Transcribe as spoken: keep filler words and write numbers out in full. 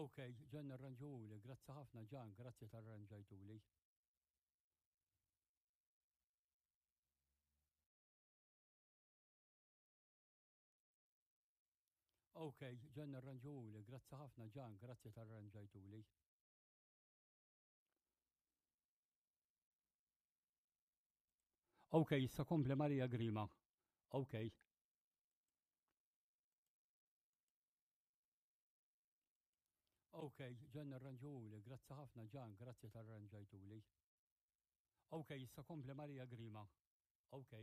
Ok, ġan arranġuli, grazzi ħafna ġan, grazzi tal-arranġajtuli. Ok, ġan arranġuli, grazzi ħafna ġan, grazzi tal-arranġajtuli. Ok, issa kompli Maria Grima. Ok. Ok, ġan arranġuli, grazzi ħafna ġan, grazzi tal-arranġajtuli. Ok, issa kompli Maria Grima. Ok.